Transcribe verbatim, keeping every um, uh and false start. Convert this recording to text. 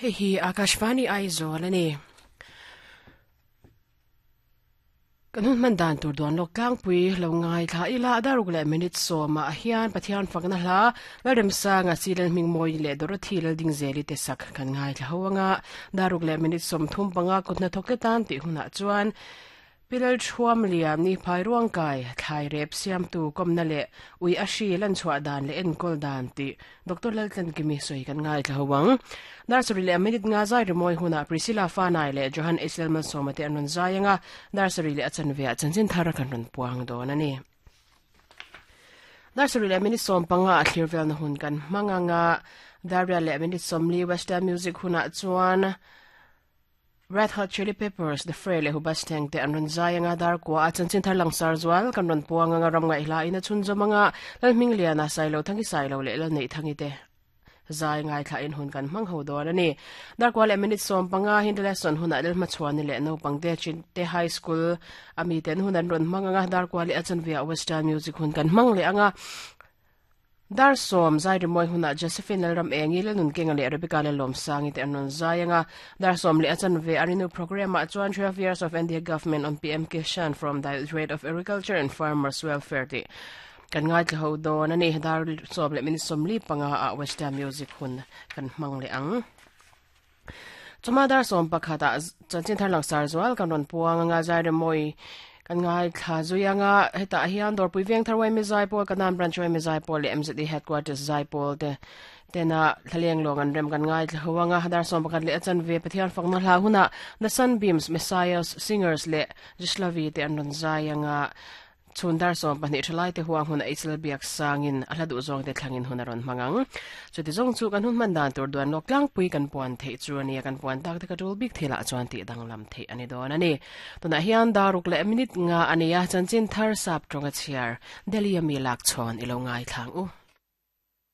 Hei hi Akashvani Aizawl ani. Kan hun man dan tur duan lok tlangpui lo ngai thla ila daruk leh minute sawma ah hian Pathian fakna hla Lalremsanga Silen Hmingmawi leh Dorothy Laldingzeli te sak kan ngai thla ho anga daruk leh minute sawmthum panga kutna thawk te tan tih hunah chuan Pilal thuam liam ni phai ruang kai thlai rep siam tu komna leh ui a hri lan chhuah dan leh enkawl dan tih Doctor Laltlankimi sawi kan ngai thla ho ang. Nursery leh minute nga zai rimawi hunah Priscilla Fanai leh Johan Israel Malsawma te an rawn zai anga nursery leh a chanve ah chanchin thar kan rawn puang dawn a ni. Nursery leh minute sawm panga a thlir velna hun kan hmang anga Daria leh minute sawmli Western music hunah chuan Red Hot Chili Peppers, The Fray leh Hubasteng te an rawn zai anga dar kua a chanchin thar langsar zual kan rawn puang anga ram ngaih hla in a chhunzawm anga Lalhmingliana Sailo Thangi Sailo leh Lalneih Thangi te zai ngai thla in hun kan hmang ho dawn a ni. Dar kua leh minute sawm panga Hindi lesson hunah Lalhmachhuani leh naupang te Chinte High School ami ten hun an rawn hmang anga dar kua leh a chanve ah Western music hun kan hmang leh anga Dar sawm zai rimawi hunah Josephine Lalram Engi, Lalnunkenga leh Rebecca Lalawmsangi te an rawn zai anga dar sawm leh a chanve a rinu programme ah chuan Twelve Years of N D A Government on P M Kishan from Directorate of Agriculture and Farmers Welfare tih kan ngaithla ho dawn a ni. Dar sawm leh minute sawmli panga ah Western Music hun kan hmang leh ang. Chuma dar sawm pakhat ah chanchin thar langsar zual kan rawn puang anga zai rimawi kan ngaithla zui anga hetah hian Dawrpui Veng Thar Yma Zaipawl, Kanan Branch Yma Zaipawl leh M Z E Headquarters Zaipawl te tena thlaleng lawng an rem kan ngaithla ho anga dar sawm pakhat leh a chanve Pathian fakna hla hunah The Sunbeams, Messiahs, Singers leh Jislavi te an rawn zai anga chhun dar sawm pahnih thalai te huang hun a Israel biak sangin a hla duh zawng te thlangin hun a rawn hmang ang. Chuti zawng chu kan hun hman dan tur duan lawk tlangpui kan puan theih chu a ni a, kan puan tak te ka tul bik thilah chuan tih danglam theih a ni dawn a ni. Tunah hian daruk leh minute nga a ni a, chanchin thar sap tawnga chhiar Delhi ami lak chhawn i lo ngai thlang u.